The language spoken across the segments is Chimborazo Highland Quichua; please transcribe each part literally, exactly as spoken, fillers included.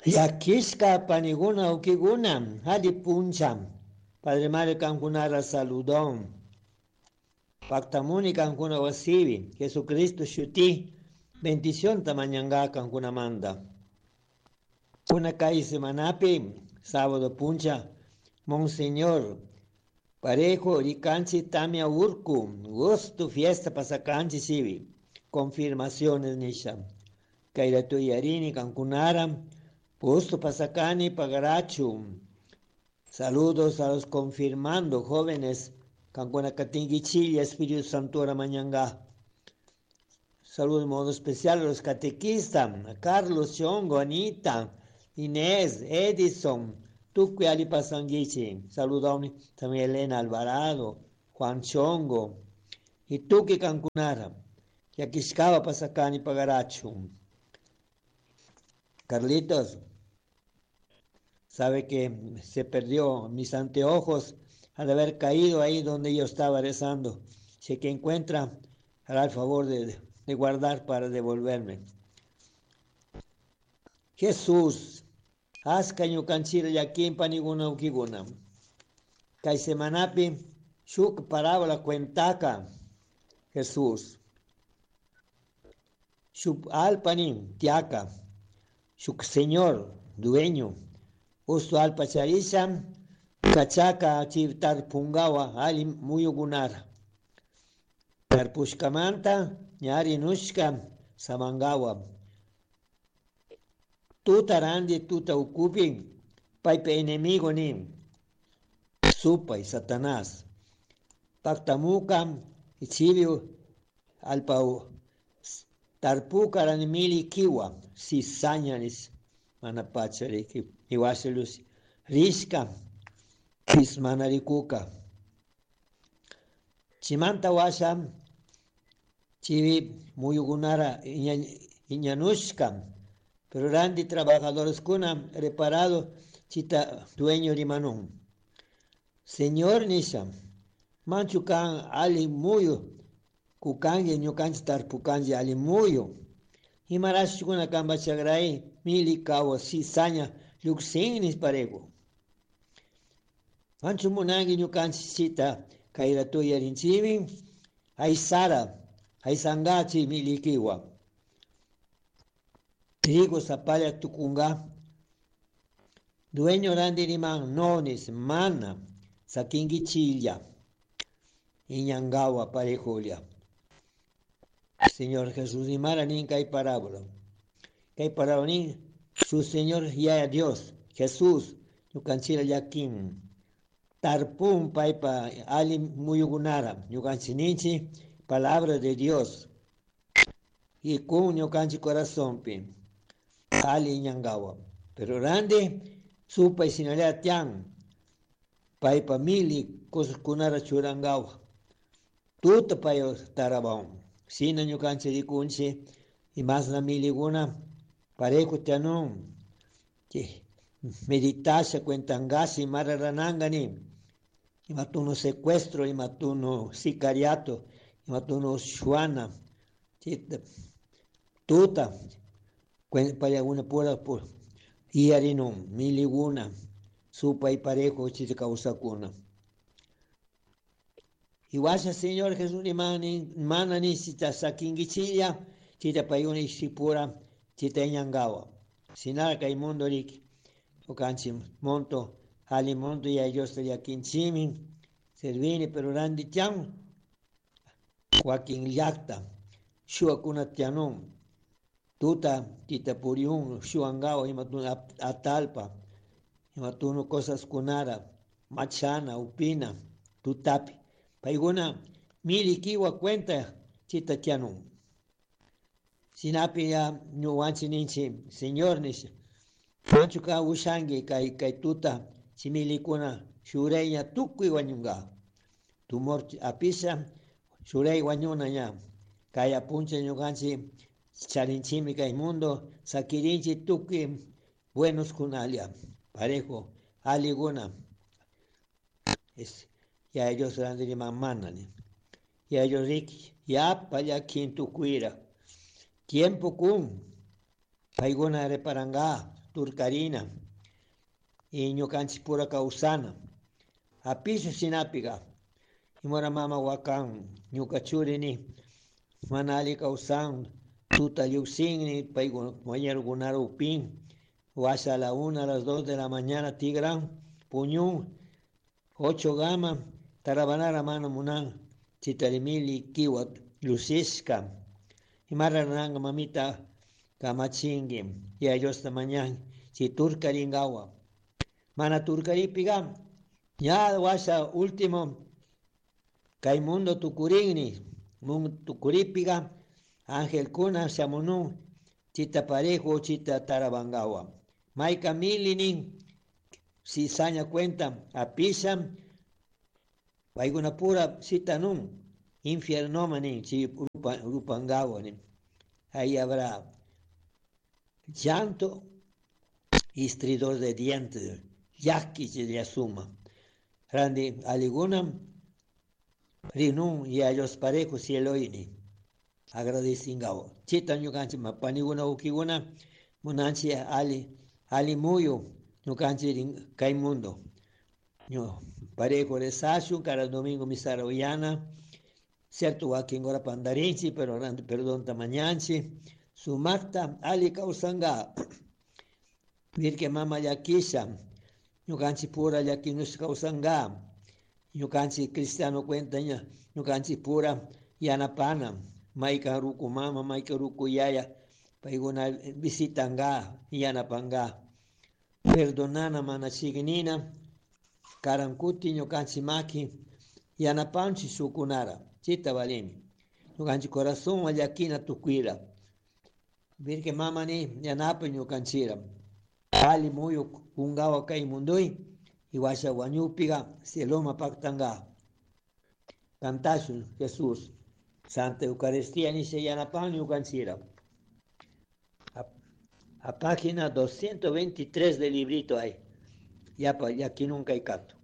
Llakishka paniguna ukiguna alli puncha Padre Mario kankunara saludon. Paktamuni kankuna wasibi Jesucristo shuti bendición mañanga kankunamanta. Kuna kay semanapi sábado puncha Monseñor Parejo rikanchi tamia urku gusto fiesta pasakanchi sibi confirmaciones nisha kayratu yarini kankunara gusto pasakani pagarachu. Saludos a los confirmando jóvenes kankuna katinkichilla Espíritu Santo mañanga. Saludos de modo especial a los catequistas, a Carlos Chongo, Anita, Inés, Edison, tukuy ali pasanguichi. Saludos también Elena Alvarado, Juan Chongo, y tukuy kankunara, llakishkaba pasakani pagarachu. Carlitos, sabe que se perdió mis anteojos al haber caído ahí donde yo estaba rezando. Si que encuentra, hará el favor de, de guardar para devolverme. Jesús, aska ñukanchira llakin paniguna ukiguna. Kay semanapi shuk parábola cuentaka Jesús. Shuk alpanin tiaka, shuk señor, dueño. Usto alpa charisha, kachaka tarpungawa ali muyugunara. Tarpushkamanta ñari nushka samangawa. Tuta randi tuta ukupi paypa enemigo ni supay Satanás. Paktamuka ichibi alpa tarpuka rani mili kiwa cizaña nis mana pacha riki iwashalus rishka pis mana rikuka. Chimanta washa chivi muyugunara iñanushka pero randi trabajadores kuna reparado chita dueño rimanun. Señor nisha manchu kan ali muyu kukangi ñukanchi tarpukanchi ali muyu. Imarashkuna kamba chagray mili kawa cizaña lluksinnis parejo. Manchu munangi ñukanchi chita kayratu yarinchimi aysara aysangachi milikiwa. Trigo sapalla tukunga. Dueño randi riman nonis mana sakingi chilla. Iñangawa parejulia. Señor Jesús rimara nin kay parábola. Kay parábola nin su Señor ya Dios Jesús ñukanchira llakin. Tarpun paypa ali muyugunara ñukanchininchi palabra de Dios. Y kun ñukanchi corazonpi ali iñangawa. Pero randi supay sinalea tian paypa mili cosas churangawa. Tuta payo tarabaun. Sina ñukanchi rikunchi y más la miliguna parejo tianun. Meditasha cuentangasi mararanangani. Imatuno secuestro, imatuno sicariato, imatuno shuana, tuta, payaguna pura por iarinum, miliguna, supa y parejo chita. Iwasha Señor Jesús mana ni chita sakingichilla, chita payuna ishipura, chita iñangawa. Sinara kay mundo riki, okanchi monto, ali monto ya Dios te yakinchimi, servini pero randi tian, wakin llakta, shuakuna tianun, tuta tita puriun, shuangawa, imatuna atalpa, imatunu cosas kunara, machana, upina, tutapi. Paiguna mili kiwa cuenta chita tianun. Sinapi ya ñuwanchi ninchi, Señor nisha. Manchu ka ushangi kay kay tuta chimilikuna shureña tukuy wañunga. Tumor apisa shurey wañuna ña. Kay apuncha ñukanchi charinchimi kay mundo sakirinchi tukuy buenos kunalia. Parejo aliguna. Es ya ellos eran mamana ni. Ya ellos riki ya paya quinto cuira. Tiempo kun paiguna reparanga turkarina y ñukanchik pura kawsana apishu shinapiga imora mama wakan ñuka churini mana alli kawsan tuta lluksinni paykuna compañerokunara upin washa a la una a las dos de la mañana tigran puñun ocho gama tarabanara mana munan chitarimili kiwa lusishka imararanga mamita kamachingi ya Diosta mañan si turkaringawa mana turkaripiga ya washa último kay mundo tukurinni mundo tukuripiga angelkuna shamunun chita parejo chita tarabangawa mayka milinin si saña cuenta apisha paykuna pura sitanun infierno nin chi rupa, rupangawa nin ahí habrá llanto y estridor de dientes llaki yasuma randi aliguna rinun y a los parejos cieloini agradecingao chita ñukanchik paniguna ukiguna munanchik ali ali muyu ñukanchik kay mundo ñu parejo rezashun cada domingo misa uyana cierto wakin hora pandarinchik pero perdón mañanchik sumakta ali kawsanga virke mama llakisha ñukanchik pura llakinush kawsanga ñukanchik cristiano cuenta ña ñukanchik pura yanapana maykan ruku mama maykan ruku yaya paykuna visitanga yanapanga perdonana mana chignina karankuti ñukanchik maki yanapanchik shukunara chita valimi ñukanchik corazón llakina tukuira virke mama ni yanapa ñukanchira ali muyu kungawa kay munduy y washa wañupiga cieloma paktanga kantashun Jesús Santa Eucaristía ni se yanapan ñukanchira a, a página doscientos veintitrés del librito hay ya pa, ya aquí nunca hay canto.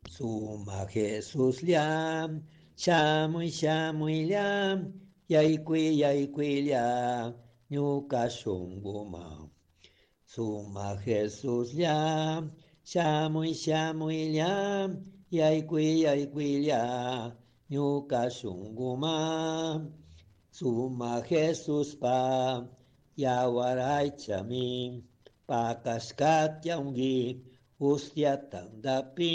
Suma Jesús liam, shamuy shamuy liam, yaykui yaykui liam, ñuka shunquma. Suma Jesús liam, shamuy shamuy liam, yaykui yaykui liam, ñuka shunquma. Suma Jesús pa, yawaraychami, pakashkatyanki, ustia tandapi.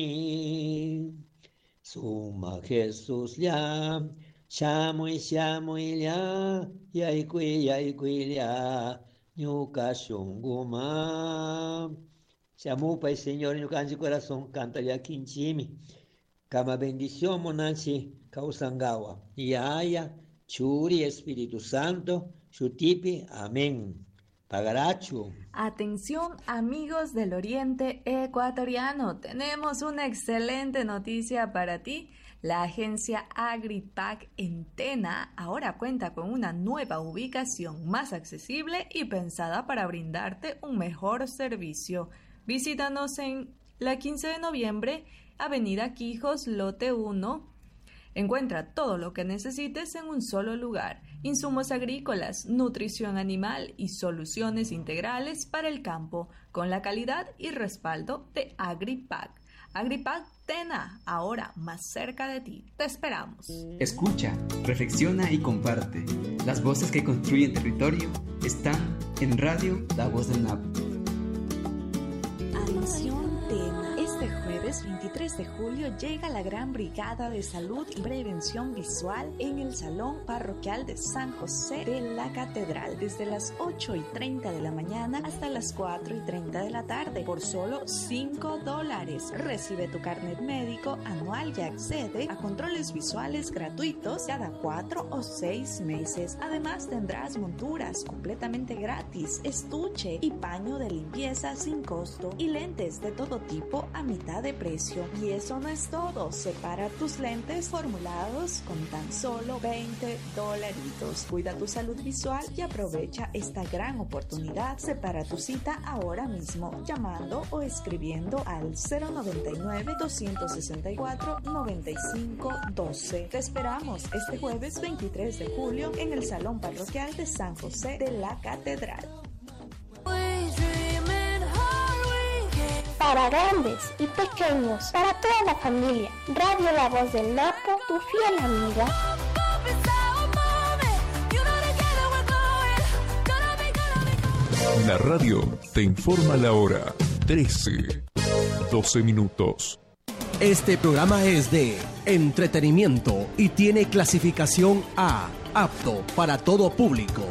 Suma Jesús liam, shamuy shamuy liam, yaykui yaykui liam, ñuka shunquma. Shamupay Señor ñukanchik corazón, canta llakinchimi. Kama bendición monanchi kawsangawa. Yaya, Churi, Espíritu Santo, Shutipi, amén. Pagarachu. Atención amigos del Oriente Ecuatoriano, tenemos una excelente noticia para ti. La agencia AgriPac en Tena ahora cuenta con una nueva ubicación más accesible y pensada para brindarte un mejor servicio. Visítanos en la quince de noviembre, Avenida Quijos, Lote uno. Encuentra todo lo que necesites en un solo lugar. Insumos agrícolas, nutrición animal y soluciones integrales para el campo, con la calidad y respaldo de AgriPac. AgriPac Tena, ahora más cerca de ti. Te esperamos. Escucha, reflexiona y comparte. Las voces que construyen territorio están en Radio La Voz del Napo. Atención Tena. Este jueves veintitrés de julio llega la Gran Brigada de Salud y Prevención Visual en el Salón Parroquial de San José de la Catedral desde las ocho y treinta de la mañana hasta las cuatro y treinta de la tarde por solo cinco dólares. Recibe tu carnet médico anual y accede a controles visuales gratuitos cada cuatro o seis meses. Además tendrás monturas completamente gratis, estuche y paño de limpieza sin costo y lentes de todo tipo a mitad de precio. Y eso no es todo, separa tus lentes formulados con tan solo veinte dolaritos. Cuida tu salud visual y aprovecha esta gran oportunidad. Separa tu cita ahora mismo llamando o escribiendo al cero noventa y nueve, doscientos sesenta y cuatro, noventa y cinco doce. Te esperamos este jueves veintitrés de julio en el Salón Parroquial de San José de la Catedral. Para grandes y pequeños, para toda la familia. Radio La Voz del Napo, tu fiel amiga. La radio te informa la hora trece, doce minutos. Este programa es de entretenimiento y tiene clasificación A, apto para todo público.